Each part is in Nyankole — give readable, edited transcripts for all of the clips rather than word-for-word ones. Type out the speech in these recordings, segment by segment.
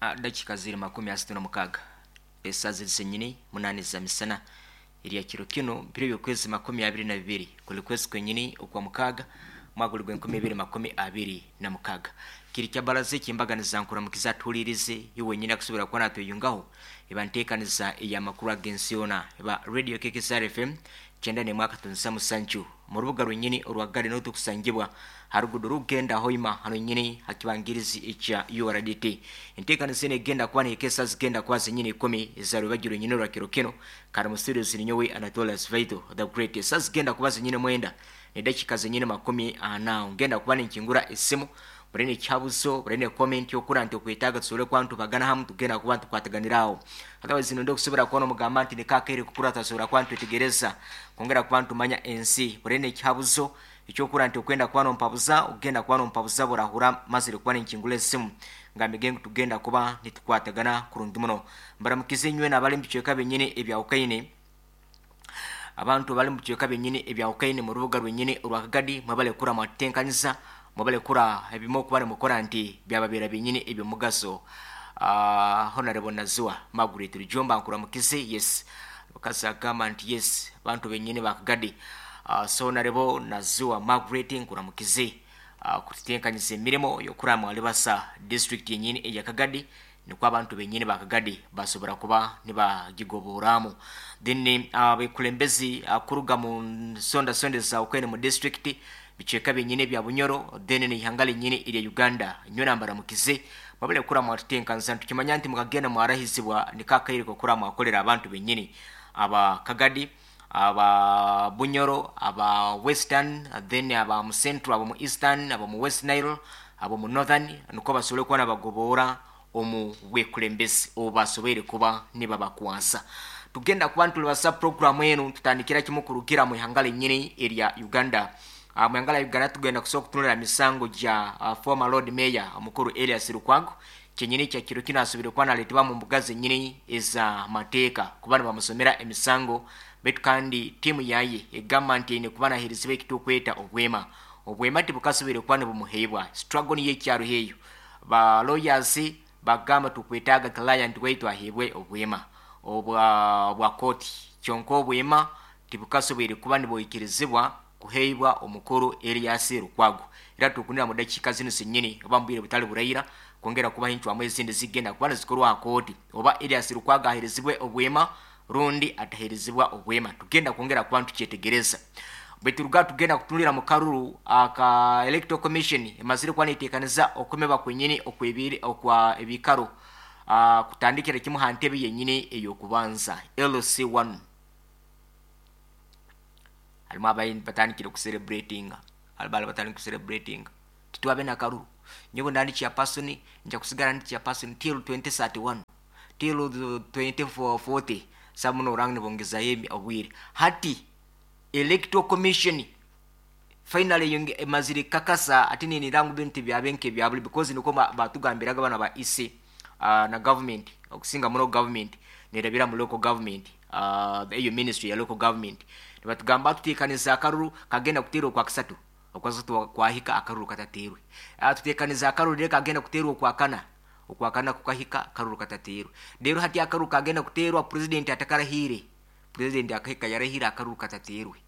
Dakika ziri 36 esaa ziri zenyini 8 za misana erya kiro kino biro by'okwezi 22 kuli kwezi kwenyini okwa mukaaga mwaka guli gw'enkumi ibiri 26. Kiri kya baraza eky'embaganiza nkuramukiza atuhuliirize iwe wenyini akusobora kuba natweyungaho eba nteekaniza ey'amakuru ag'ensi yoona eba Radio KKSR FM 91.7 mu rubuga rwenyini orwa Gari niho tukusangibwa ha ruguudo rukugenda Hoima hanu nyini ha kibangirizi ekya URDT. Enteekaniza enu egenda kuba nehika esaa zigenda kuba zenyini ikumi eza rwebagyo rwenyini orwa kiro kinu kandi mu studios ninyowe Anatolius Vaito the Great. Esaa zigenda kuba zenyini mwenda nedakiika zenyini 40 ngenda kuba ninkingura esimu murene ekihabuzo murene comment okura nti okwetaaga tusobole kuba nitubagana hamu tugenda kuba nitukwataganira aho. Otherwise nonda okusobora kuba nomugamba nti niko akaire kukura twasobora kuba nitwetegereza kwongera kuba nitumanya ensi. Murene ekihabuzo ekyokura nti okwenda kuba nompabuza ogenda kuba nompabuza burahura mazire kuba ninkingura esimu ngambege ngu tugenda kuba nitukwatagana kurungi muno. Mbaramukize inywena abali mu bicweka byenyini ebyahukaine. Abantu abali mu bicweka byenyini ebyahukaine mu rubuga rwenyini orwa Kagadi mwebale kura mwatutenkaniza mwebale kura ebimwe okuba nimukora nti byababeera byenyini eby'omugaso. Honorable Naziwa Margaret Rujumba nkuramukize yes mukazi agamba nti yes bantu benyini ba Kagadi. So Honorable Naziwa Margaret nkuramukize kututenkanyiza emirimo y'okura mwalibasa district yenyini eya Kagadi nikwo abantu benyini ba Kagadi basobora kuba nibagigoboramu. Then abekulembezi kuruga mu nsondasonda ezahukene mu district bicweka byenyini ebya Bunyoro then n'eihanga lyenyini erya Uganda nyowe mbaramukize mwabale kura mwatutenkanisa nitukimanya nti mukagenda mwarahizibwa niko akaire k'okura mwakorera abantu benyini aba Kagadi aba Bunyoro aba Western then aba mu Central aba mu Eastern aba mu West Nile aba mu Northern nikwo basobole kuba nibagoboora omu bwekulembezi obu basoboire kuba nibabakwasa. Tugenda kuba nitulibasa puroguramu enu tutandikira kimu kurugira mu ihanga lyenyini erya Uganda. Mu ihanga lya Uganda tugenda kusobola kutunulira misango gya former Lord Mayor omukuru Erias Lukwago kyenyini kya kiro kinu asoboire kuba naletebwa mu mbuga zenyini eza mateeka kuba nibamusomera emisango baitu kandi tiimu yaye egamba nti eine kuba naheerezibwa ekitukweta obwema. Obwema tibukasoboire kuba nibumuheebwa. Struggle niyo ekyaruho eyo. Ba lawyers bagamba tukwetaaga client waitu aheebwe obwema obwa bwa kooti kyonka obwema tibukasoboire kuba nibwikirizibwa kuheebwa omukuru Erias Lukwago. Era tukunira mu dakiika zinu zenyini oba mu bwire butali buraira kwongera kubaha encwamu ezindi zigenda kuba nizikorwa aha kooti oba Erias Lukwago aheerezibwe obwema rundi ataheerezibwa obwema. Tugenda kwongera kuba nitukyetegereza. Baitu ruga tugenda kutunulira mu karuru aka Electoral Commission emazire kuba neteekaniza okwemeba kwenyini okwebiri okwa ebikaro kutandikira kimu ha ntebe yenyini ey'okubanza LC1. Harimu abayi batandikire kucelebratinga harimu abari batandikire kucelebratinga titwabe na karuru nyowe nda ndi chairperson nja kusigara ndi chairperson till 2031 till 2040 sabu noranga nibongezayo obwire hati Electoral Commission finally yonge emazire kakasa ati ninira ngu bintu tibyabe nk'ebyaburi because nikwo batugambiraga bana ba EC na government okusinga muno government nerabira mu local government eyo ministry ya local government nibatugamba tuteekaniza akaruru kagenda kuteerwa okwakasatu okwakasatu kwahika akaruru katateerwe tuteekaniza akaruru rero kagenda kuteerwa okwakana okwakana kukahika akaruru katateerwe rero hati akaruru kagenda kuteerwa president atakarahiire president akahika yarahira akaruru katateerwe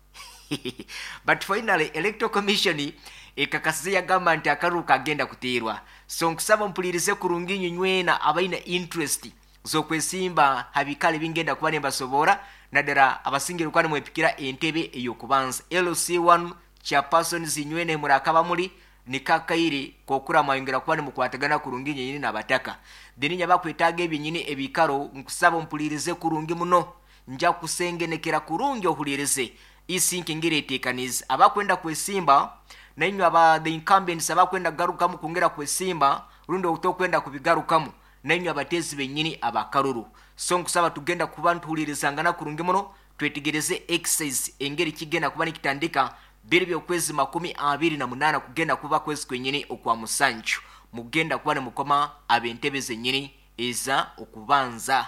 but finally Electoral Commission ekakasize yagamba nti akaruru kagenda kuteerwa. So nkusaba mpulirize kurungi inywe nywena abaine interest z'okwesimba ha bikaro ebingenda kuba nimbasoboora naddala abasingire kuba nimwepikira entebe ey'okubanza LC1 chairpersons inywena murakaba muri niko akaire k'okura mwayongera kuba nimukwatagana kurungi inyenyini n'abataka. Then inywe abakwetaaga ebyenyini ebikaro nkusaba ompulirize kurungi muno nja kusengenekera kurungi ohulirize isi nkengeri eteekanize abakwenda kwesimba nainywe aba the incumbents abakwenda kugarukamu kwongera kwesimba rundi otokwenda kubigarukamu nainywe abateezi benyini abakaruru. So nkusaba tugenda kuba nituhulirizangana kurungi muno twetegereze exercise engeri kigenda kuba nikitandika biri by'okwezi 28 kugenda kuba kwezi kwenyini okwa musanju mugenda kuba nimukoma ab'entebe zenyini eza okubanza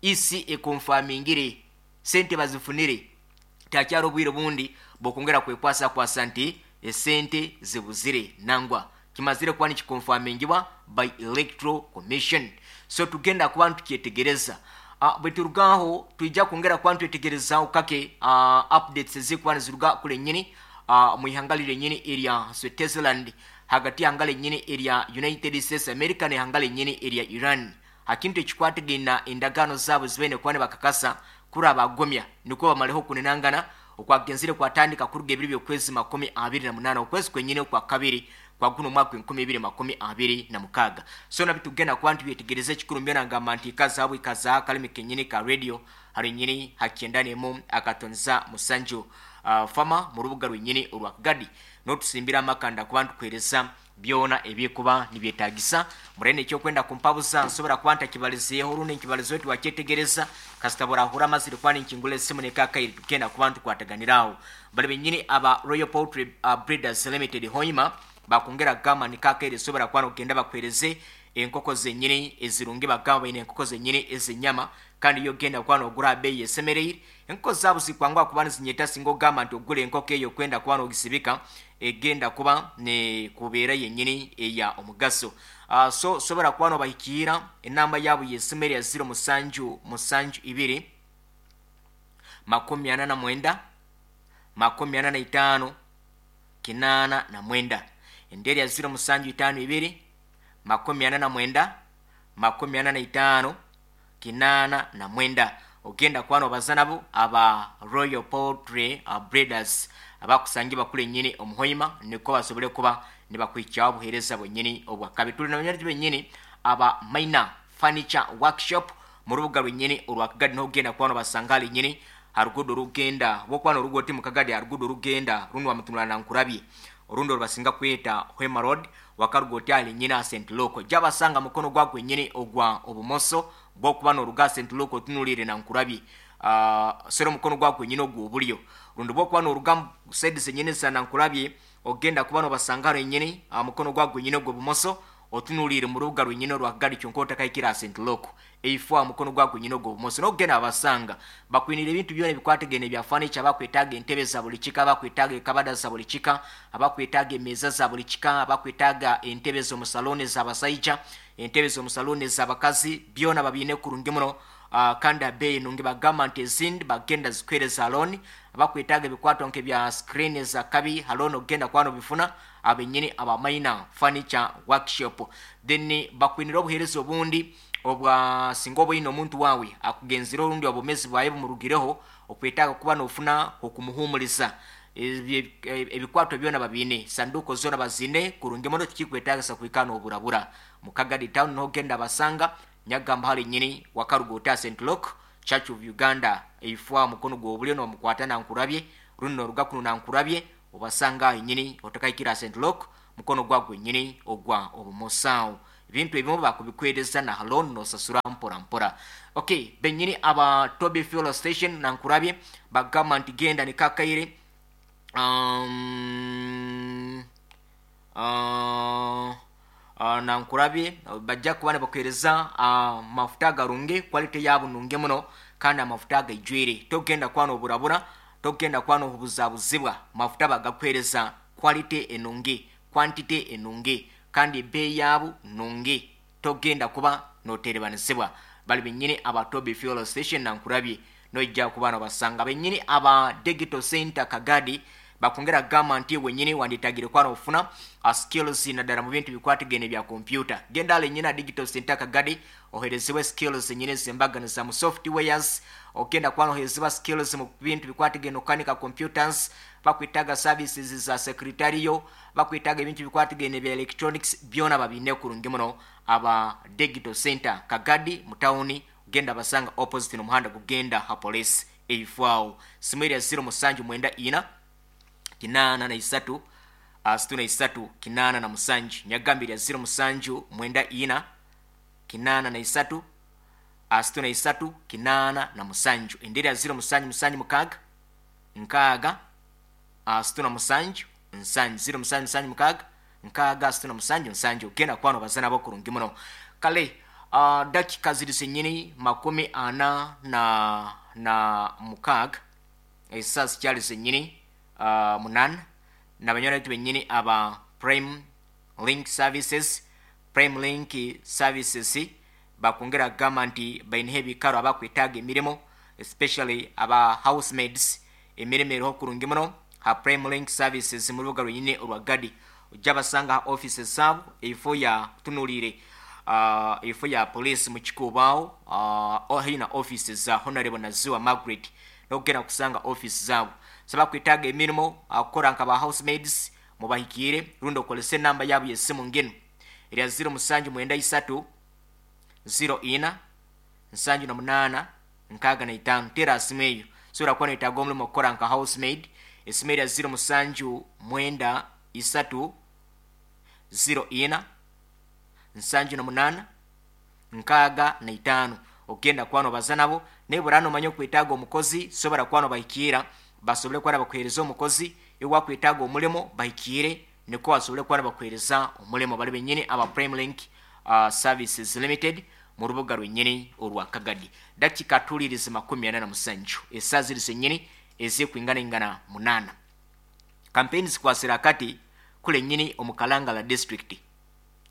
isi ekonfamingire sente bazifunire takyari obwire bundi bw'okwongera kwekwasakwasa nti esente zibuzire nangwa Kimazire kuba nikikonfamingibwa by Electoral Commission. So tugenda kuba nitukyetegereza. Bweturugaho twija kwongera kuba nitwetegerezaho kake updates ezikuba niziruga kule nyini mu ihanga lyenyini erya Switzerland, hagati y'ihanga lyenyini erya United States America n'ihanga lyenyini erya Iran, ha kintu ekikwatagaine endagaano zaabo zibaine kuba nibakakasa kuri abagomya nikwo bamareho okunenangana okwagenzire kwatandika kuruga ebiro by'okwezi 28 okwezi kwenyini okwa kabiri kwa guno omwaka 2026. So nabyo tugenda kuba nitubyetegereza. Ekikuru mbyo nangamba nti ikazaabo ikaza akalimi kenyini ka radio hari nyini ha 97.7 fama mu rubuga rwenyini orwa Kagadi, n'otusimbira amakanda kuba nitukuhereza byona ebyekuba nibyetagisa. Murene ekyokwenda kumpabuza, nsobora kuba ntakibalizeeho rundi nkibalizeho tiwakyetegereza, kasita burahura amazire kuba ninkingula esimu nekakaire, tugenda kuba ntukwataganiraho. Bali benyini aba Royal Poultry Breeders Limited Hoima bakongera kugamba nikakaire sobora kuba nogenda bakuhereze enkoko zenyini ezirungi. Bagamba baine enkoko zenyini ezenyama, kandi iyo ogenda kuba nogura beeyi esemereire. Enkoko zaabo zikwangwa kuba nizinyeta. Singa ogamba nti ogula enkoko eyo okwenda kuba nogisibika, egenda kuba nekubeera yenyini eya omugaso. So sobora kuba nobahikiira. Enamba yaabo yesimu erya 0772 49 45 89. Endi erya 0752 49 45 89. Ogenda kuba nobaza nabo aba Royal Poultry Breeders abakusangibwa kule nyini omuhoima, niko basobole kuba nibakwikyaho obuheereza bwenyini obwakabi. Tuli nabanyariti benyini aba Minor Furniture Workshop mu rubuga rwenyini orwa Kagadi, nogenda kuba nobasanga hali nyini harugudo rugenda bwokuba norugo oti mukagadi, harugudo rugenda rundi wamutunula nankurabye, orundi orubasinga kweta Hwema Road, wakaruga oti ali nyina St Luke, jabasanga mukono gwa gwenyini ogwa obumoso bwokuba noruga St Luke otunulire nankurabye, sero mukono gwa gwenyini ogw'obulyo, rundi bwokuba noruga side zenyini za nankurabye, ogenda kuba nobasanga haro nyini mukono gwa gwenyini ogw'obumoso otunulire mu rubuga rwenyini orwa Kagadi, kyonka otakahikira St Luke, eifo mukono gwa gwenyini ogw'obumoso nokugenda abasanga. Bakwinira ebintu byona ebikwatagene ebya furniture. Bakwetaaga entebe za buli kika, bakwetaaga ekabada za buli kika, abakwetaaga emeeza za buli kika, abakwetaaga entebe z'omusaloni z'abasaija, entebe z'omusaloni ez'abakazi, byona babiine kurungi muno, kandi abeeyi nungi. Bagamba nti ezindi bagenda zikwereza loan. Abakwetaaga ebikwato nk'ebya screen za kabi ha loan, ogenda kuba nobifuna abenyini aba Minor Furniture Workshop. Then bakwinira obuheereza obundi obwa singa oba omuntu wawe akugenzire orundi obumezi bwawe bumurugireho, okwetaaga kuba nofuna okumuhumuriza, ebikwato byona babiine, sanduko zona bazine kurungi muno, tikikwetagisa kwikana noburabura. Mukagadi town nogenda basanga. Nyagamba hali nyini wakaruga ota St Luke Church of Uganda, eifwa mukono gw'obulyo nomukwata nankurabye, rundi noruga kuno nankurabye, obasanga aho nyini otakahikira St Luke, mukono gwagwe nyini ogwa obumoso. Ebintu ebimu bakubikwereza na loan, nosasura mpora mpora. Okay, benyini aba Toby Fuel Station nankurabye bagamba nti genda nikakaire nankurabye bajja kuba nibakuhereza mafuta agarungi, quality yabo nungi muno kandi amafuta agaijwire. Togenda kuba noburabura, togenda kuba nobuzabuzibwa. Mafuta bagakuhereza quality enungi, quantity enungi, kandi ebeeyi yabo nungi, togenda kuba noterebanisibwa. Bali benyini aba Toby Fuel Station nankurabye, noija kuba nobasanga. Benyini aba Digital Center Kagadi bakongera kugamba nti wenyini wanditagire kuba nofuna skills naddala mu bintu bikwatagene bya computer, genda ale nyina Digital Center Kagadi oherezebwe skills nyine zembaganiza mu softwares. Ogenda kuba noherezebwa skills mu bintu bikwatagene okukanika computers, bakwetaaga services za secretarial, bakwetaaga ebintu bikwatagene bya electronics, byona babine kurungi muno aba Digital Center Kagadi mu tawuni. Genda basanga opposite n'omuhanda gugenda ha police eifwawo. Simu erya 0794 83 63 87. Nyagambye erya 0794 83 63 87. Endi erya 0776 60 67 7, 0776 60 67 7. Ogenda kuba nobaza nabo kurungi muno. Kale dakika ziri zenyini 46, esaa zikyali zenyini 8. Nabanywana baitu benyini aba Prime Link Services, Prime Link Services bakwongera kugamba nti baineho ebikaro abakwetaaga emirimo, especially aba housemaids. Emirimo eriho kurungi muno ha Prime Link Services mu rubuga rwenyine orwa Gadi. Ojja basanga ha offices zaabo eifo ya tunuliire eifo ya police mu Kikuubo aho, haihi na offices za Honorable Naziwa Margaret, nokugenda kusanga office zaabo. So abakwetaaga emirimo kukora nka ba housemaids, mubahikiire rundi okozese enamba yaabo y'esimu nginu erya 0793 04 78 65. Teera aha simu eyo sobola kuba noyetaaga omurimo kukora nka housemaid. Esimu erya 0793 04 78 65, okugenda kuba nobaza nabo. Naye bw'oraaba nomanya okwetaaga omukozi, sobola kuba nobahikiira basobole kuba nibakuheereza omukozi. Iwe wakwetaaga omurimo, bahikiire nikwo basobole kuba nibakuheereza omurimo. Bari benyini aba Prime Link Services Limited mu rubuga rwenyini orwa Kagadi. Dakika atuliirize 47, esaaha ziri zenyini ezikwinganaingana 8. Kampeyini zikwasire akati kule nyini omu Kalangala District.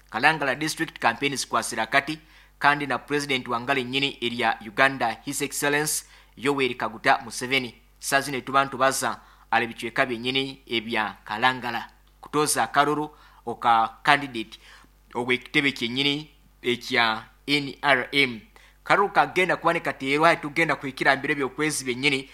Kalangala District kampeyini zikwasire akati, kandi na Purezidenti wangala enyini erya Uganda, His Excellence Yoweri Kaguta Museveni, saaha zinu etuba nitubaza ali bicweka byenyini ebya Kalangala kutooza akaruru oka candidate ow'ekitebe kyenyini ekya NRM. Karuru kagenda kuba nikateerwa hati tugenda kuhikira aha biro by'okwezi byenyini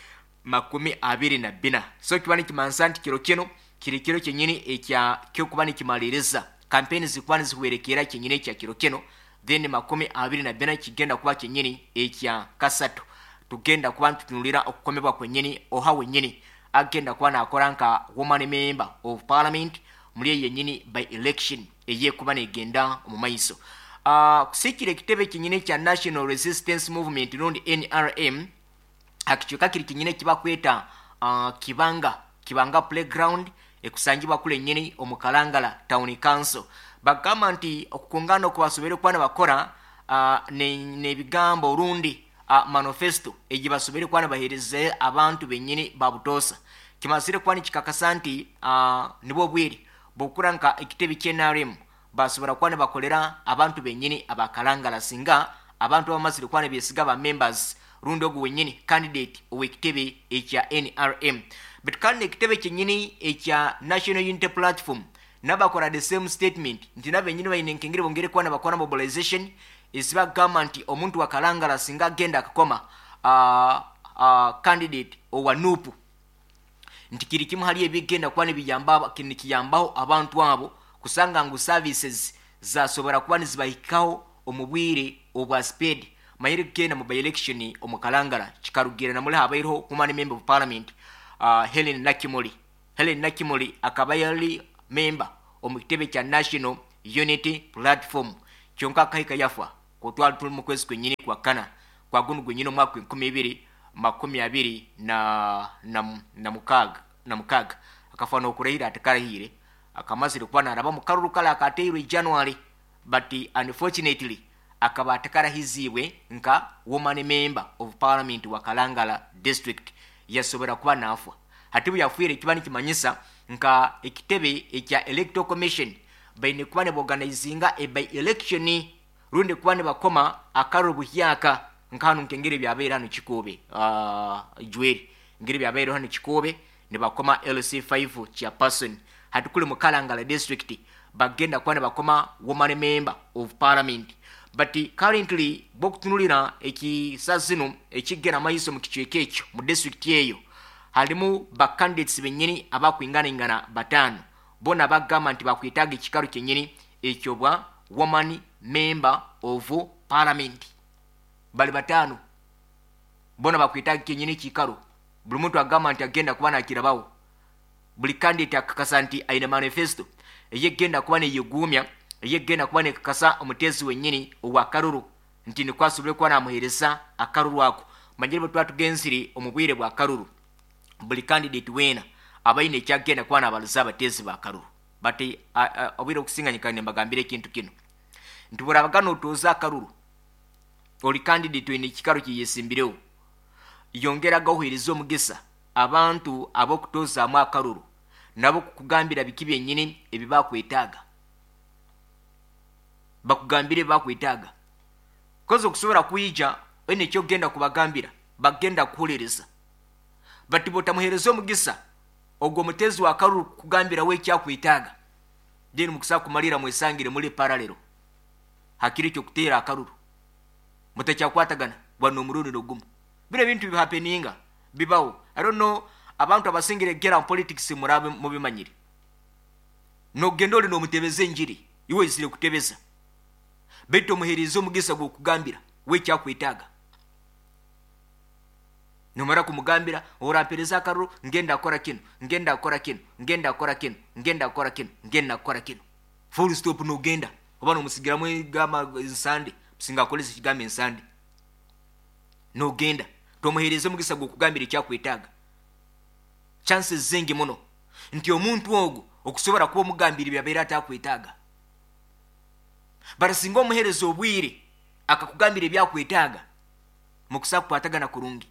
24. So kiba nikimanisa nti kiro kinu kiri kiro kyenyini ekya ky'okuba nikimaliriza kampeyini, zikuba nizihwerekeera kyenyini ekya kiro kinu. Then 24 kigenda kuba kyenyini ekya kasatu, tugenda kuba nitutunulira okukomebwa kwenyini oha wenyini agenda kuba nakora nka woman member of parliament muri eyo yenyini by election eyekuba negenda omu maiso. Kusikira ekitebe kyenyini ekya National Resistance Movement rundi NRM akicweka kiri kyenyini ekibakweta Kibanga, Kibanga Playground ekusangibwa kule nyini omu Kalangala Town Council, bagamba nti okukungana oku basoboire kuba nibakora n'ebigambo rundi manifesto egi basoboire kuba nibaheereza abantu benyini ba butoosa, kimazire kuba nikikakasa nti nibwo obwire bw'okukura nka ekitebe ky'NRM basobora kuba nibakolera abantu benyini aba Kalangala, singa abantu abamazire kuba nibesiga ba members rundi ogu wenyini candidate ow'ekitebe ekya NRM. But kandi ekitebe kyenyini ekya National Unity Platform nabakora the same statement nti nabenyini baine nkengeri bongere kuba nibakora mobilization ezibagamba nti omuntu wa Kalangala singa agenda akakoma candidate owa NUP, nti kiri kimu hali ebigenda kuba nibiyamba nikiyambaho abantu abo kusanga ngu services zasobora kuba nizibahikaho omu bwire obwa speed. Manyire kugenda mu by-election omu Kalangala kikarugira namuli habaireho woman member of parliament, Helen Nakimuli. Helen Nakimuli akaba yali member omu kitebe kya National Unity Platform, kyonka akahika yafa kutwala tuli mu kwezi kwenyini kwa kana kwa gunu gwenyini omwaka 2026. Akafa n'okurahira atakarahiire, akamazire kuba naraba mu karuru kale akateirwe January, but unfortunately akaba atakarahiziibwe nka woman member of parliament wa Kalangala District, yasobora kuba nafa. Hati bwe yafiire, kiba nikimanyisa nka ekitebe ekya Electoral Commission baine kuba nibaorganizinga e by election rundi kuba nibakoma akaruru buhyaka, nka hanu nkengeri byabaire hanu Kikuube, jweri ngeri byabaire hanu Kikuube nibakoma LC5 chairperson. Hati kuli mu Kalangala District bagenda kuba nibakoma woman member of parliament. But currently bwokutunulira ekisa zino ekigenda maiso mu kicweka ekyo, mu district eyo harimu ba candidates benyini abakwinganaingana bataano, bona bagamba nti bakwetaaga ekikaro kyenyini ekyobwa woman member of parliament. Bali bataano, bona bakwetaaga kenyini ekikaro. Buli muntu agamba nti agenda kuba nakirabaho. Buli candidate akakasa nti aine manifesto eyegenda kuba neyeguumya, eyegenda kuba nekakasa omuteezi wenyini owakaruru nti nikwo asobole kuba namuheereza akaruru ako. Manyire bwe tuba tugenzire omu bwire bwa karuru, buli candidate weena aba aine ekyagenda kuba nabaliza abateezi ba karuru. But obwire obukusinganyika nimbagambira ekintu kinu nti burabaga notooza akaruru, ori candidate oine ekikaro kyeyesimbireho, yongeraga oheereza omugisa abantu ab'okutozaamu akaruru nabo kukugambira biki byenyini ebi bakwetaaga. Bakugambire ebi bakwetaaga. Kozi okusobora kwija oine ekyokugenda kubagambira, bakugenda kukuhuliriza. But bwotamuhereza omugisa ogwo omutezi wa karuru kukugambira we ekyakwetaaga, then mukusa kumalira mwesangire muli parallel hakiro ekyokuteera akaruru. Mutakyakwatagana gwa nomurundi nogumu. Binu ebintu bihappeninga, bibaho. I don't know abantu abasingire gera mu politics murabe mubimanyire. Nogenda ori nomutebeza enjiri, iwe oizire kutebeza. Baitu omuheriize omugisa gwokugambira we ekyakwetaaga. Nomara kumugambira, orampereza akaruru, ngenda kukora kinu, ngenda kukora kinu, ngenda kukora kinu, ngenda kukora kinu, ngenda kukora kinu. Full stop nogenda. Oba nomusigiramu egamba ensande, musinga akoresa ekigambo ensande. Nogenda. Tomuhereza omugisa gwokugambira ekyakwetaaga. Chances zingi muno nti omuntu ogu okusobora kuba omugambira ebyabaire atakwetaaga. But singa omuhereza obwire akakugambira ebyakwetaaga, mukusa kukwatagana kurungi.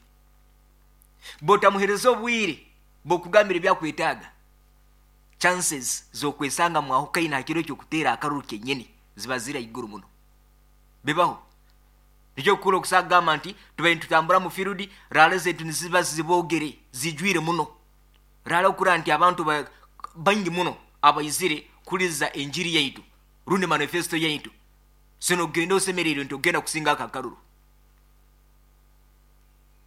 Bwotamuhereza obwire bwokugambira ebyakwetaaga, chances zokwesanga mwahukaine aha kiro ekyokuteera akaruru kenyini ziba ziri aiguru muno. Bibaho. Nikyo kukuru okusa kugamba nti tubaire nitutambura mu field, rally zaitu niziba zibogere, zijwire muno. Rally okurora nti abantu baingi muno abaizire kuhuririza enjiri yaitu rundi manifesto yaitu. So nogenda osemereirwe nti ogenda kusinga aka akaruru.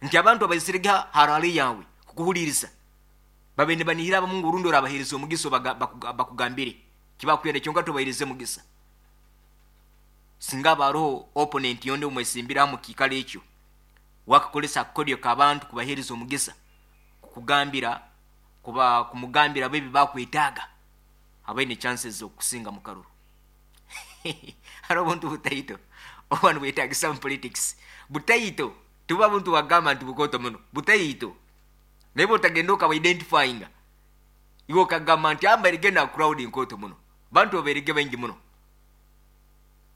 Nti abantu abaizire ha rally yawe kukuhuririza babaire nibanihira abamu ngu orundi orabahereza omugisa bakugambire kibakwenda kyonka tobahereze mugisa. Singa haba haroho opponent yondi omwesimbire aha mukiikaro ekyo, wakakoresa akakodyo k'abantu kubahereza omugisa kukugambira kuba kumugambira bo ebi bakwetaaga, abaine chances z'okukusinga mu karuru. Hariho obuntu butaito obuba nibwetagisa omu politics. Butaito, tibuba buntu bwakugamba nti bukooto muno, butaito. Naye bwotagenda okaba identifyinga, iwe okagamba nti aba mbairege na crowd nkooto muno, bantu babairege baingi muno,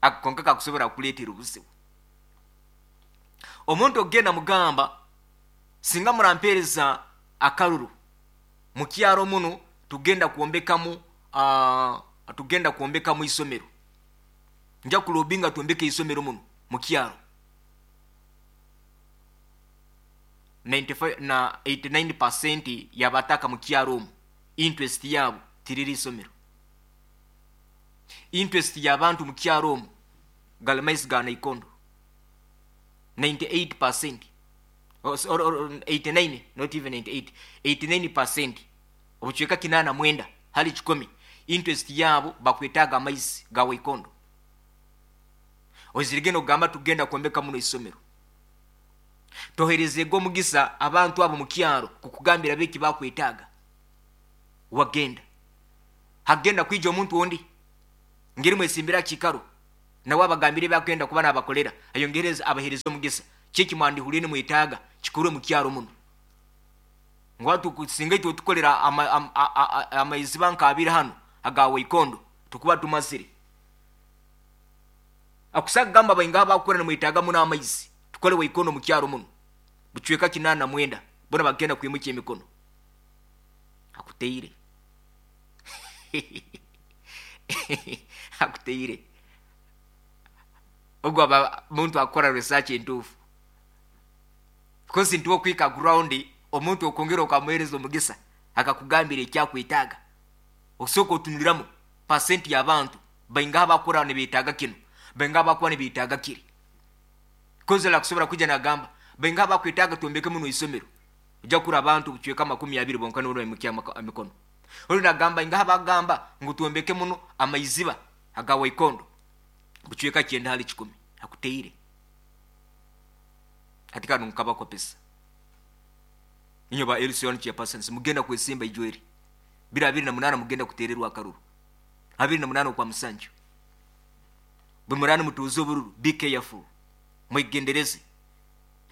ako konka kakusobora kukuleetera obuzibu. Omuntu okugenda mugamba, singa murampeereza akaruru mukyaro muno tugenda kwombekamu tugenda kwombekamu isomero. Nja kulobinga twombeke isomero muno mukyaro. 95 na 89% yabataka mukyaro omu interest yabo tiriri isomero. Interest yabantu mukyaro omu gali maizi ga naikondo. 98% or 89 not even 98 89% obucweka kinaana mwenda hali kikumi interest yaabo bakwetaaga amaizi ga waikondo. Oizirege nogamba tugenda kwombeka muno isomero. Toherezege omugisa abantu abo mukyaro kukugambira bo eki bakwetaaga. Wagenda. Hagenda kwija omuntu ondi ngeri mwesimbire aha kiikaro nawe abagambire ebi akwenda kuba nabakolera ayongereze abahereze omugisa. Ki eki mwandihuriire nimwetaaga kikorwe mukyaro muno. Ngu hati singa itwe tukolera amaiziba nka abiri hanu aga Waikondo tukuba tumazire. Akusa kugamba baingaha abakukora nimwetaaga muno amaizi tukole Waikondo mukyaro muno bucweka 89 bona bagenda kwimukya emikono. Akuteire. Akuteire. Ogu aba muntu akukora research entuufu. Because nti okwika ground omuntu okwongera okamuhereza omugisa akakugambira ekyakwetaaga. Osooka otunuliramu percent y'abantu baingaha abakura nibetaaga kinu, baingaha abakuba nibetaaga kiri. Because arakusobora kwija nagamba baingaha abakwetaaga twombeke muno isomero. Ojja kukura abantu obucweka 20 bonka nibo baimukya emikono. Ondi nagamba ingaha abagamba ngu twombeke muno amaiziba aga Waikondo bucweka 90 hali 100 akuteire. Hati kanu nkabakopesa. Inywe ba LC1 chairpersons mugenda kwesimba ijweri. Biro 28 mugenda kutererwa akaruru. 28 okwa musanju. Bwe murani mutuuze obururu, be careful. Mwegendereze.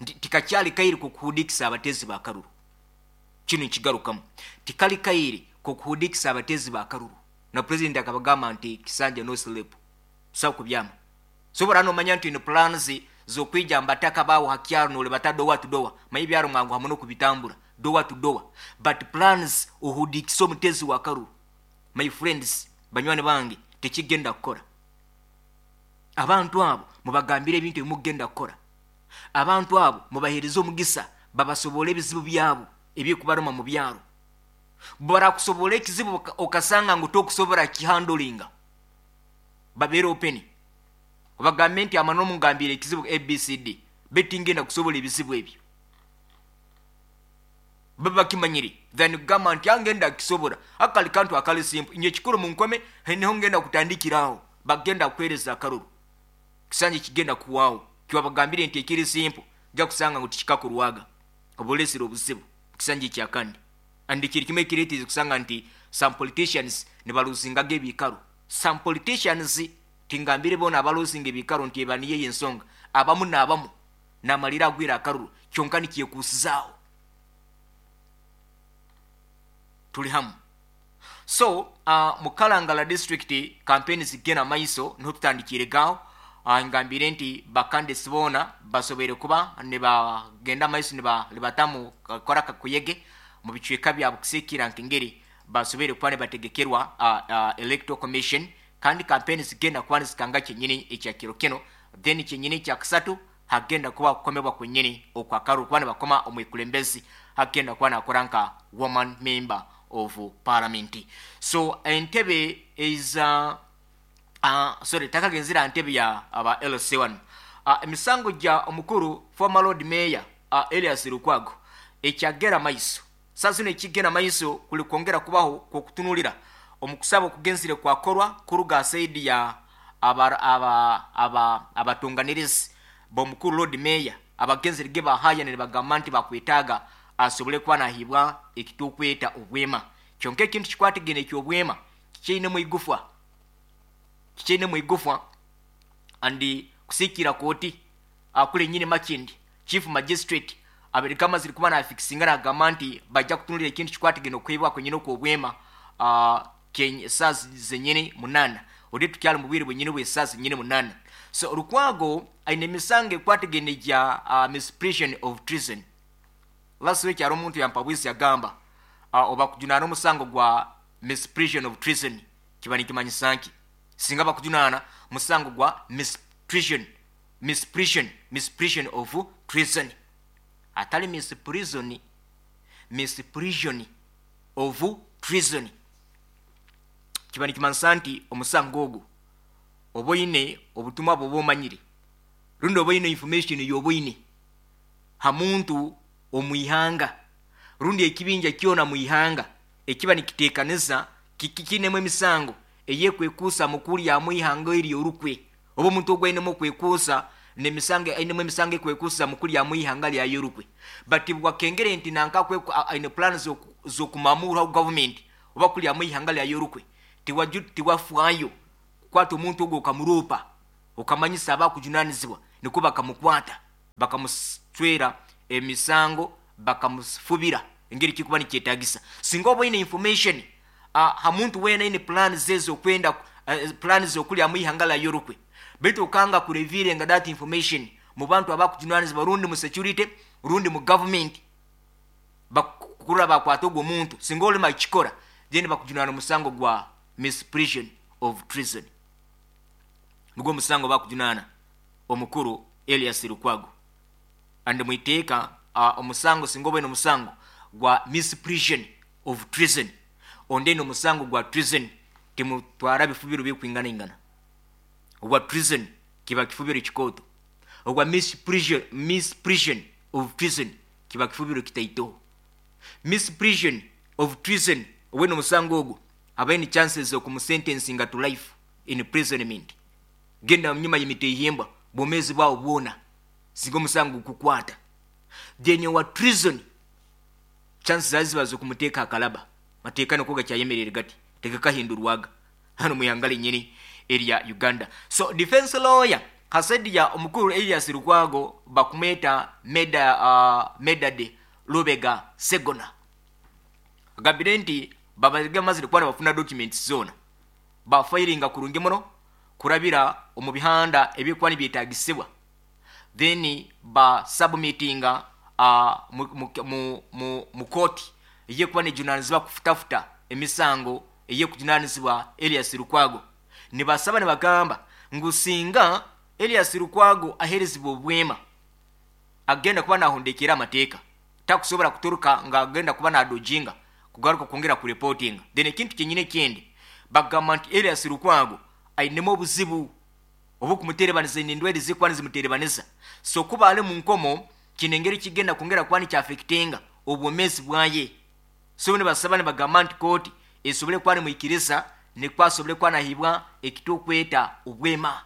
Nti tikakyali kaire kokuhudikisa abatezi ba karuru. Kinu nkigarukamu. Tikali kaire kokuhudikisa abatezi ba karuru. Na president akabagamba nti kisanja no sleep. Tosobola kubyama. Sobora nomanya nti oine plans zokwija mbataka bawo ha kyaro nolebata door to door. Manya ebyaro mwanguha muno kubitambura door to door. But plans ohudikise omutezi wa karuru. My friends, banywani bange, tekigenda kukora. Abantu abo mubagambire ebintu ebimukugenda kukora. Abantu abo mubahereze omugisa babasobole ebizibu byabo ebyekubaruma mu byaro. Barakusobola ekizibu okasanga ngu tokusobora kihandolinga, babeere open, obagambe nti amano mungambire ekizibu ABCD, baitu tingenda kusobola ebizibu ebyo. Babe bakimanyire than kugamba nti angenda kukisobora. Akali kantu akali simple, inye ekikuru munkome niho ngenda kutandikira aho. Bagenda kukuhereza akaruru, kisanje kigenda kuhwaho. Kiwabagambire nti ekiri simple, ojja kusanga ngu tikikakorwaga, oba olesire obuzibu kisanje ekyakandi. And kiri kimwe ekireetiize kusanga nti some politicians nibaluzingaga ebiikaro. Some politicians, tingambire boona abaluzinga ebiikaro nti eba niyo ey'ensonga, abamu n'abamu namalira agwire akaruru kyonka nikyekuusizaaho. Turi hamu. So mu Kalangala district campaign zigenda maiso, niho tutandikiire aho. Ngambire nti ba candidates boona basoboire kuba nibagenda maiso nibatamu kukora akakuyege mu bicweka byabo kusiikira nk'engeri basoboire kuba nibategekerwa Electoral Commission, kandi campaign zigenda kuba nizikanga kyenyini ekya kiro kino. Then kyenyini ekya kasatu hagenda kuba kukomebwa kwenyini okwakaruru kuba nibakoma omwikulembezi hagenda kuba nakora nka woman member of parliament. So entebe is sorry, takagenzera ntebe ya aba LC1. Emisango gya omukuru former Lord Mayor Elias Lukwago ekyagera maiso. Sasa zino ekigenda maiso kuli kwongera kubaho kwokutunulira omukusaba okugenzire kwakorwa kuruga saidi ya abatunganirizi bomukuru Lord Mayor abagenzire ge bahaya nibagamba nti bakwetaaga asobole kuba nahibwa ekitukweta obwema. Kyonka ekintu kikwatigene ekyobwema kikyeinemu igufwa, kikyeinemu igufwa andi kusikira kooti akule nyine Makindi chief magistrate abereka amazire kuba nafikisinga nagamba nti bajja kutunulira ekintu kikwatigene okuhibwa kwenyine okwobwema saa zenyine 8 odi tukyali mu bwire bwenyine bw'esaa zenyine 8. So Lukwago aine emisango ekwatigene gya misprision of treason. Last week hari omuntu yampabwisi yagamba oba kujunaana omusango gwa misprision of treason kiba nikimanyisa nki? Singa bakujunaana musango gwa misprision, misprision, misprision of treason, atali misprison, misprision of treason, kiba nikimanyisa nti omusango ogwo oba oine obutumwa bwoba omanyire rundi oba oine information yoba oine ha muntu omwihanga rundi ekibinja kyona mwihanga ekiba nikiteekaniza kikinemu emisango eyekwekuusa mukulya mwihanga eri orukwe, oba omuntu ogwo ainemu okwekuusa n'emisango, ainemu emisango ekwekuusa mukulya mwihanga lyayo orukwe. But bwakengere nti nanka aine plan z'okumamura government oba kulya mwihanga lyayo orukwe, tiwafwayo kukwata omuntu ogwo okamuropa okamanyisa abakujunanizibwa, nikwo bakamukwata bakamuswera emisango bakamufubira engeri kikuba nikyetagisa. Singa oba oine information ha muntu weena aine plan ze okwenda plan zokulya mwihanga lyayo orukwe, baitu okanga kurevealinga that information mu bantu abakujunanizibwa rundi mu security rundi mu government, bakurra bakwata ogwo muntu, singa olima kikora then bakujunana omusango gwa misprision of treason. Nigwo omusango bakujunana omukuru Elias Lukwago. And mwiteeka omusango singa obaine omusango gwa misprision of treason, onde omusango gwa treason timutwara bifubiro bikwingana ingana. Ogwa treason kiba kifubiro kikooto, ogwa misprision, misprision of treason kiba kifubiro kitaito. Misprision of treason owene omusango ogwo abaine chances okumusentencinga to life in imprisonment, genda nyuma y'emiteihimba bwomezi bwawo bwona singa omusango gukukwata. Then owa treason chances zaziba zokumuteeka akalaba, mateeka niko gakyayemerere gati tegakahindurwaga hano muyangale nyini erya Uganda. So defense lawyer hasedi ya omukuru Elias Lukwago bakumweta Medade Lubega Segona agambire nti babazige amazire kuba bafuna documents zona bafilinga kurungi muno kurabira omu bihanda ebikuba nibyetagisibwa, then ba submittinga mu kooti eyekuba nejunanizibwa kufutafuta emisango eyekujunanizibwa Elias Lukwago. Nibasaba nibagamba ngu singa Erias Lukwago aheerezibwa obwema agenda kuba nahondekyera amateeka, takusobora kuturuka nga agenda kuba nadojinga kugaruka kwongera kureportinga. Then ekintu kyenyini ekindi bagamba nti Erias Lukwago ainemu obuzibu obukumuterebaniza, aine endwaire ezikuba nizimuterebaniza, so kuba ali munkomo kine engeri kigenda kwongera kuba nikyaffectinga obwomezi bwaye. So nibasaba nibagamba nti kooti esobole kuba nimwikiriza nikwo asobole kuba nahibwa ekitukweta obwema.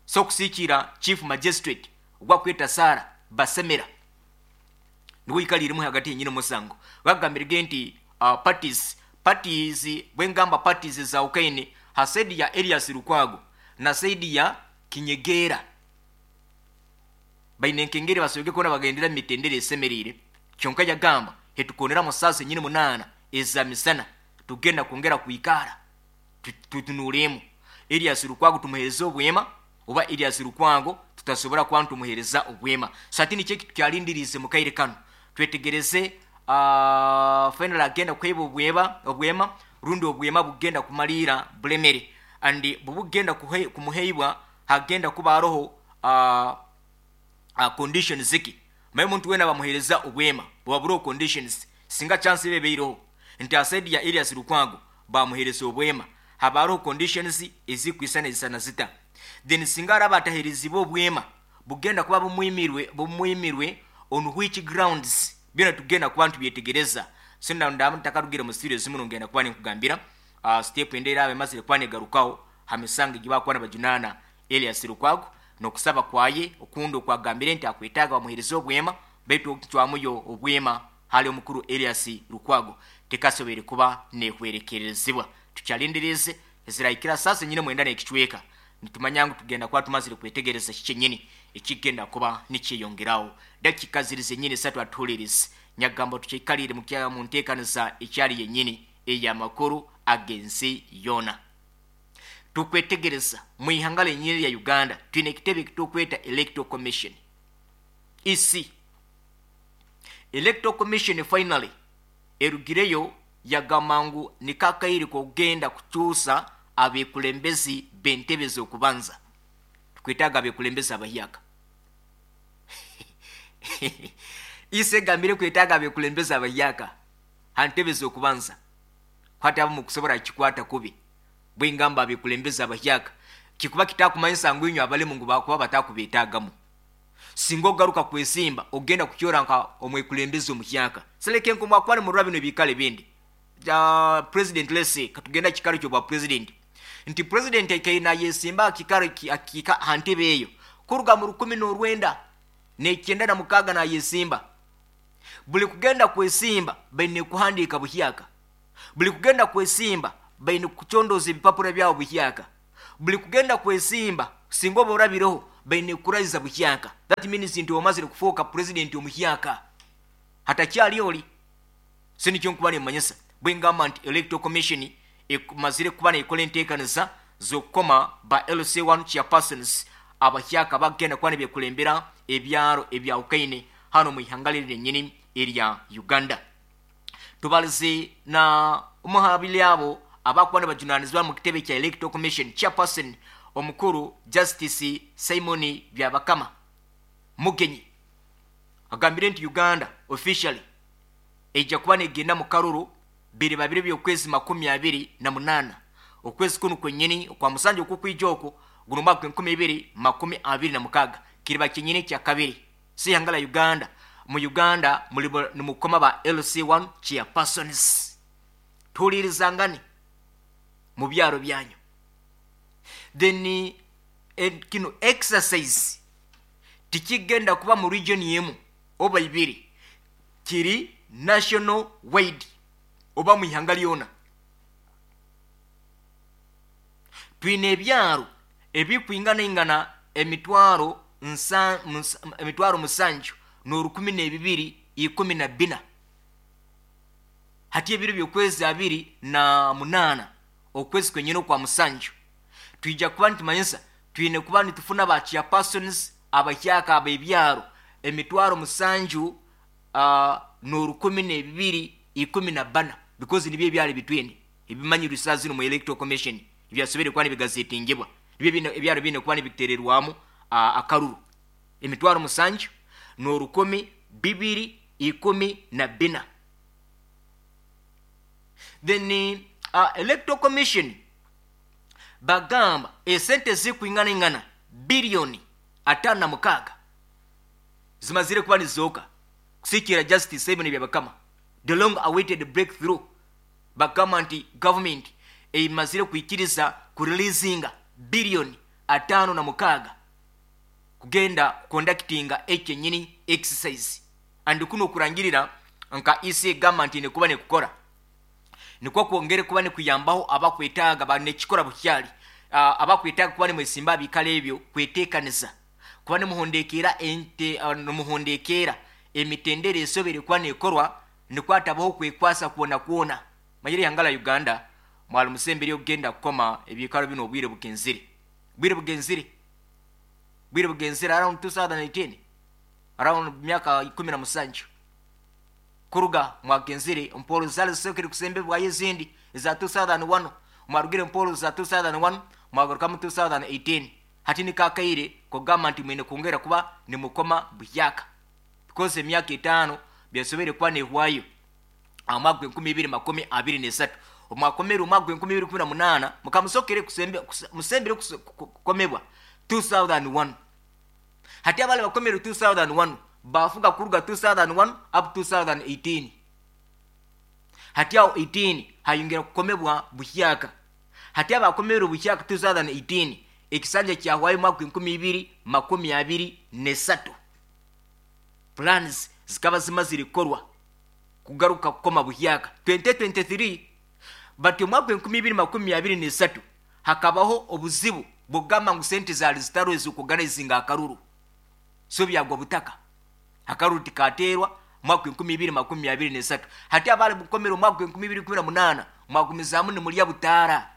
So kusikiira Chief Magistrate ogwakweta Sarah Basemera niwe oikaliremu hagati yenyini omusango, bagambirege nti parties parties bwengamba parties ezawukaine ha side ya Erias Lukwago na side ya Kinyegeera baine nkengeri basobwege kuba nibagendera omu mitendera esemeriire, kyonka yagamba hetukoneramu saaha zenyini 8 eza misana tugenda kwongera kwikara tutunuuremu Erias Lukwago tumuhereze obwema oba Erias Lukwago tutasobora kuba nitumuhereza obwema. So hati nikyo ekitukyalindiriize mu kaire kanu, twetegereze final agenda kuheebwa obwema rundi obwema bugenda kumaliira bulemere, and bubugenda kumuheibwa hagenda kuba haroho conditions ki. Manye omuntu weena bamuhereza obwema buba buroho conditions, singa chance eba ebeireho nti ha side ya Erias Lukwago bamuhereza obwema haba haroho conditions ezikwisana ezisana zita. Then singa araba ataherezibwe obwema bugenda kuba bumwimirwe on which grounds, byona tugenda kuba nitubyetegereza. So ndaba ntakarugire mu studio zimu ngenda kuba ninkugambira step ende eraba emazire kuba negarukaho ha misango egi bakuba nibajunaana Erias Lukwago n'okusaba kwaye okundi okwagambire nti akwetaaga bamuhereze obwema, baitu okucwamuyo obwema hali omukuru Erias Lukwago tekasoboire kuba nehwerekerezibwa. Tukyalindiriize ezirahikira saaha nyine 9 n'ekicweka, nitumanya ngu tugenda kuba tumazire kwetegereza kiki kyenyini ekigenda kuba nikyeyongeraho. Dakika ziri zenyini 3 atuhulirize nyagamba tukyaikalire mu nteekaniza ekyali yenyini ey'amakuru ag'ensi yoona. Tukwetegereza mu ihanga lenyini lya Uganda twine ekitebe ekitukweta Electoral Commission, EC. Electoral Commission finally erugireyo yagamba ngu nikakaire k'okugenda kukyusa abekulembezi b'entebe z'okubanza. Tukwetaaga abekulembezi abahyaka. EC egambire kwetaaga abekulembezi abahyaka ha ntebe z'okubanza, kwata abamu kusobora kukikwata kubi. Bwengamba abekulembezi abahyaka kikuba kitakumanyisa ngu inywe abalemu ngu bakuba batakubeetaagamu. Singa ogaruka kwesimba ogenda kukyora nka omwekulembezi omuhyaka. Seleke nko mwakuba nimurora bino ebiikaro ebindi. President, let's say katugenda kikaro ky'obwa president, nti president aikaire nayesimba akikaro akika ha ntebe eyo kuruga mu 1996 nayesimba. Buli kugenda kwesimba baine kuhandiika buhyaka, buli kugenda kwesimba baine kucondoza ebipapura byabo buhyaka, buli kugenda kwesimba singa oba orabireho baine kurahiza buhyaka. That means nti omazire kufuuka president omuhyaka, hatakyali oli. So nikyo nkuba nimmanyisa bwengamba nti Electoral Commission emazire kuba nekora enteekaniza z'okukoma ba LC1 chairpersons abahyaka bagenda kuba nibekulembera ebyaro ebyawukaine hano mu ihanga liri lyenyini erya Uganda. Tubalize na omuhabili abo abakuba nibajunanizibwa mu kitebe kya Electoral Commission chairperson omukuru Justice Simon Byabakama Mugenyi agambire nti Uganda officially ejja kuba negenda mu karuru biri babiri by'okwezi 28 okwezi kunu kwenyini okwa musanja okukwija okwo guno mwaka 2026 kiriba kyenyini kya kabiri. Si ihanga la Uganda, mu Uganda muli nimukoma ba LC1 chairpersons. Tuhulirizangane mu byaro byanyu. Then kino exercise tikigenda kuba mu region yemu oba ibiri, kiri national wide oba mu ihanga lyona. Twine ebyaro ebikwinganaingana 7,114. Hati ebiro by'okwezi 28 okwezi kwenyini okwa musanju twija kuba nitumanyisa twine kuba nitufuna ba chairpersons abahyaka ab'ebyaro 7,012 14, because nibyo ebyaro ebitwine ebimanyirwe saa zino mu Electoral Commission ebyasobere kuba nibigazetingibwa. Nibyo biine ebyaro biine kuba nibiteererwamu akaruru 7,214. Then Electoral Commission bagamba esente zirikwinganaingana biliyoni 56 zimazire kuba nizizooka kusikiira Justice Simon Byabakama the long awaited breakthrough. Bagamba nti gavumenti emazire kwikiriza kurilizinga biliyoni 56 kugenda kukondakitinga ekyenyini exercise and kunu okurangirira nka EC egamba nti nekuba nekukora nikwo kwongere kuba nikuyambaho abakwetaaga banekikora bukyali abakwetaaga kuba nimwesimba abikaro ebyo kwetekaniza kuba nimuhondekeera ente nimuhondekeera emitendera esobere kuba nekorwa nikwo hatabaho kwekwasa kwona kwona. Manyire ihanga la Uganda mwali musemberiyo kugenda kukoma ebiikaro binu obwire bugenzire bwire bugenzire bwire bugenzire around 2018 around myaka 17 kuruga mwagenzire mpolo zali zisokere kusembebwayo ezindi eza 2001 mwarugire mpolo za 2001 mwagarukamu 2018 hati nikakaire kugamba nti mwine kwongera kuba nimukoma buhyaka because emyaka etaano byasobere kuba nehwayo aha mwaka gw'enkumi ibiri makumi abiri n'esatu omwakomere omwaka gw'enkumi ibiri kumi na munaana mukamusokere musembere kukomebwa 2001 hati abali bakomere 2001 bafuga kuruga 2001 up 2018 hati aho 18 hayongera kukomebwa buhyaka hati abakomere buhyaka 2018 ekisanja kyahwayo omwaka gw'enkumi ibiri makumi abiri n'esatu plans zikaba zimazire kukorwa kugaruka kukoma buhyaka 2023 but omwaka gw'enkumi ibiri makumi abiri n'esatu hakabaho obuzibu bw'okugamba ngu sente zaali zitariho ez'okuorganizinga akaruru so byagwa butaka akaruru tikateerwa omwaka gw'enkumi ibiri makumi abiri n'esatu hati abali bukomere omwaka gw'enkumi ibiri kumi na munaana mwagumizaamu nimurya butaara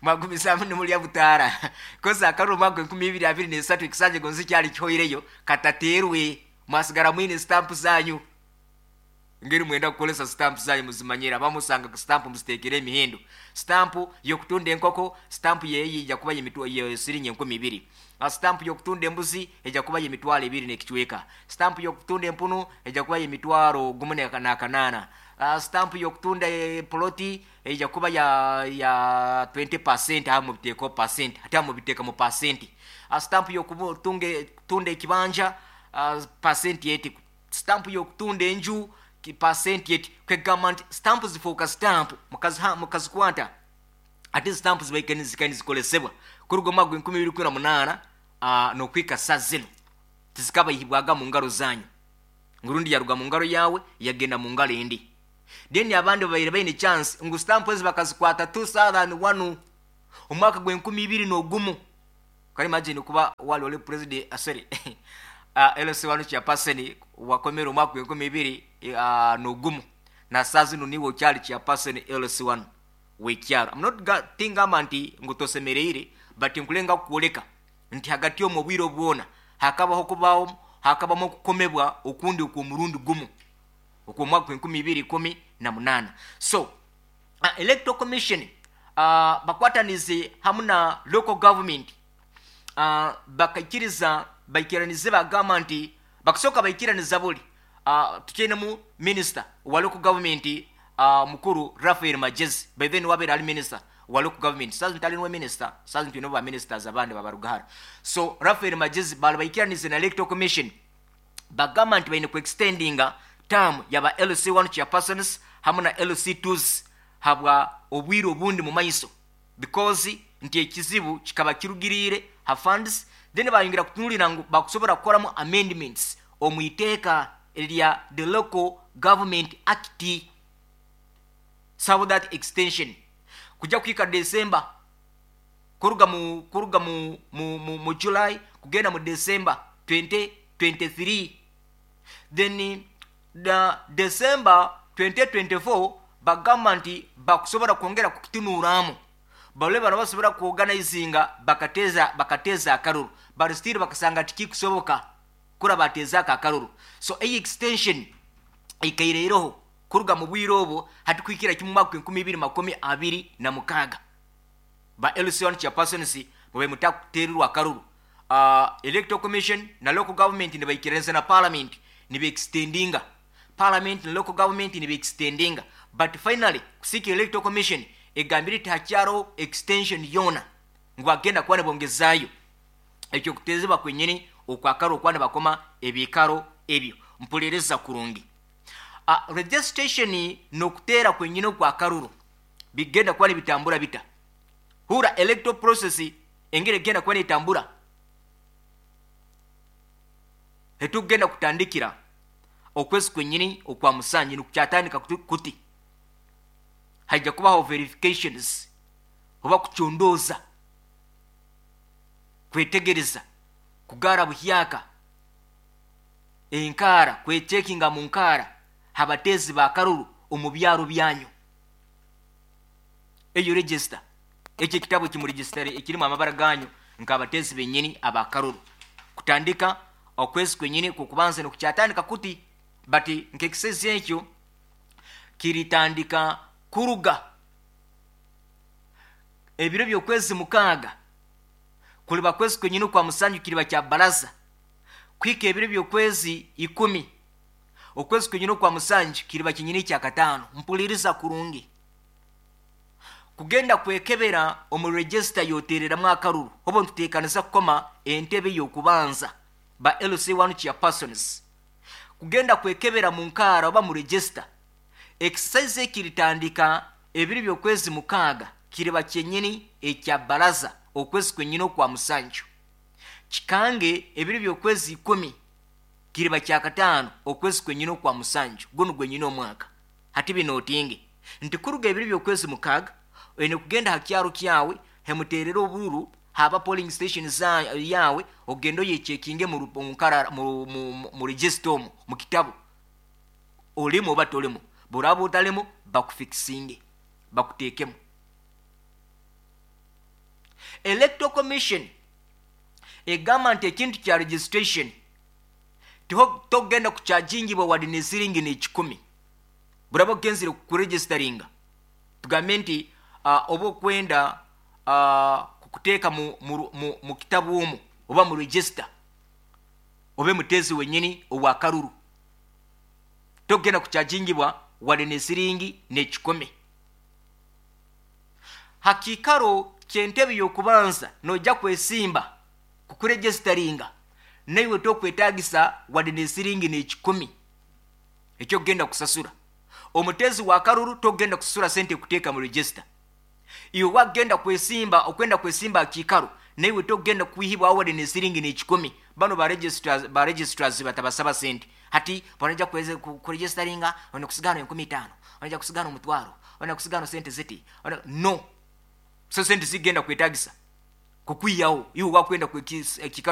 mwagumizaamu nimurya butaara kozi akaruru omwaka gw'enkumi ibiri abiri n'esatu ekisanja gonzi kyali kihoireyo katateerwe mwasigara mwine sitampu zanyu ngeri mwenda kukolesa sitampu zanyu muzimanyire abamusanga sitampu muzitekere emihendo sitampu yokutunda enkoko sitampu yeyi ija kuba siringi enkumi ibiri sitampu yokutunda embuzi ija kuba yemitwaro ebiri n'ekicweka sitampu yokutunda empunu ija kuba yemitwaro gumu n'akanaana sitampu yokutunda poloti ija kuba ya 20% aha mubiteekaho percent hati aha mubiteeka mu percent sitampu yokutunda ekibanja percent eti sitampu yokutunda enju percent eti kwegamba nti sitampu zifuuka sitampu mukazikwata ate sitampu zibaika nizikolesebwa kuruga omwaka gw'enkumi ibiri kumi na munaana n'okwika sa zinu tizikabaihibwaga mu ngaro zanyu ngurundi yaruga mu ngaro yawe yagenda mu ngaro endi then abandi babaire baine chance ngu sitampu ezi bakazikwata 2001 omwaka gw'enkumi ibiri n'ogumu kali imagine kuba wali oli president sorry LC1 chairperson wakomere omwaka gw'enkumi ibiri n'ogumu na saa zinu niwe okyali chairperson LC1 w'ekyaro. I'm not tingamba nti ngu tosemereire but nkulenga kukwoleka nti hagati omu obwire obwona hakabaho kubaho hakabamu okukomebwa okundi okw'omurundi gumu okw'omwaka gw'enkumi ibiri ikumi na munaana. So Electoral Commission bakwatanize hamu na local government bakaikiriza baikiranize bagamba nti bakasooka baikiraniza buli tukyainemu minister wa local government mukuru Raphael Magyezi by then wabaire ali minister wa local government saazi ntali niwe minister saazi twine ba ministers abandi babaruga hara so Raphael Magyezi bali baikiranize na Electoral Commission bagamba nti baine ku extendinga term yaba LC1 chairpersons hamu na LC2s habwa obwire obundi mu maiso because nti ekizibu kikaba kirugiriire ha funds then bayongera kutunulira ngu bakusobora kukoramu amendments omu iteeka erya the Local Government Act so that extension kujya kuhika December kuruga mu kuruga mu mu, mu, mu July kugenda mu December 2023 then the December 2024 bagamba nti bakusobora kwongera kukitunuramu bale bano basobora kuorganizinga bakateza akaruru but still bakasanga tikikusoboka kura bateza akaruru so eyi extension ikaireireho kuruga mu bwire obwo hati kuhikira kimwe mwaka enkumi ibiri makumi abiri na mukaaga. Ba LC1 chairpersons mube mutakuteererwa akaruru. Electoral Commission na local government nibaikiririza na parliament niba extendinga. Parliament na local government niba extendinga. But finally kusiika Electoral Commission egambire eti hakyariho extension yoona ngu bagenda kuba nibongezaayo ekyo kuteezibwa kwenyini okwa karuru okuba nibakoma ebiikaro ebyo. Mpuririza kurungi. Registration n'okuteera kwenyini okwa karuru bigenda kuba nibitambura bita? Hurra electoral process engeri egenda kuba netambura. Hetukugenda kutandikira okwezi kwenyini okwa musanju nikukyatandika kuti haija kubaho verifications oba kucondooza, kwetegereza, kugaara buhyaka enkaara, kwecekinga mu nkaara habateezi ba karuru omu byaro byanyu. Eyo register, ekyo ekitabo ekimuregistare ekirimu amabara ganyu nk'abateezi benyini aba karuru. Kutandika okwezi kwenyini kw'okubanza nikukyatandika kuti, but nk'ekisezi ekyo kiritandika kuruga ebiro by'okwezi 6 kuliba kwezi kwenyini kwa musanju kiriba kya baraza kuhika ebiro by'okwezi 10 okwezi kwenyini kwa musanju kiriba kinyini kya 5. Mpuliriza kurungi. Kugenda kwekebera omu register yotereramu akaruru obo nituteekanisa kukoma entebe y'okubanza ba LC1 chairpersons. Kugenda kwekebera mu nkaara oba mu register exercise ekiritandika ebiro by'okwezi 6 kiriba kyenyini ekya baraza okwezi kwenyini okwa musanju. Kikange ebiro by'okwezi 10 kiriba kya 5 okwezi kwenyini okwa musanju gunu gwenyini omwaka. Hati binotinge nti kuruga ebiro by'okwezi 6 oine kugenda ha kyaro kyawe hemuterera obururu haba polling station za yawe ogenda oyechekinge mu register omu mu kitabu olimu oba tolimu. Buraba otalimu bakufikisinge bakuteekemu. Electoral Commission egamba nti ekintu kya registration togenda kuchajingibwa wadde ne siringi ne1. Buraba ogenzire kuregisteringa tugambe nti oba okwenda kukuteeka mu kitabu omu oba mu register obe mutezi wenyini owa karuru, togenda kuchajingibwa wadde ne siringi ne1. Hakikaro ky'entebe y'okubanza nojja kwesimba kukuregisteringa naiwe tokwetagisa wadde ne siringi ne1 ekyokugenda kusasura. Omutezi wa karuru togenda kusasura sente kuteeka mu register. Iwe wagenda kwesimba okwenda kwesimba akikaro naiwe togenda kuihibwa wadde ne siringi ne1. Bano ba registrars batabasaba sente. Hati banaja kuregisteringa ona kusigana 5,000, onaja kusigana omutwaro, ona kusigana sente ziti. Ona, no. So sente zigenda kwetagisa kukwiyawo iwe wakwenda ekikaro.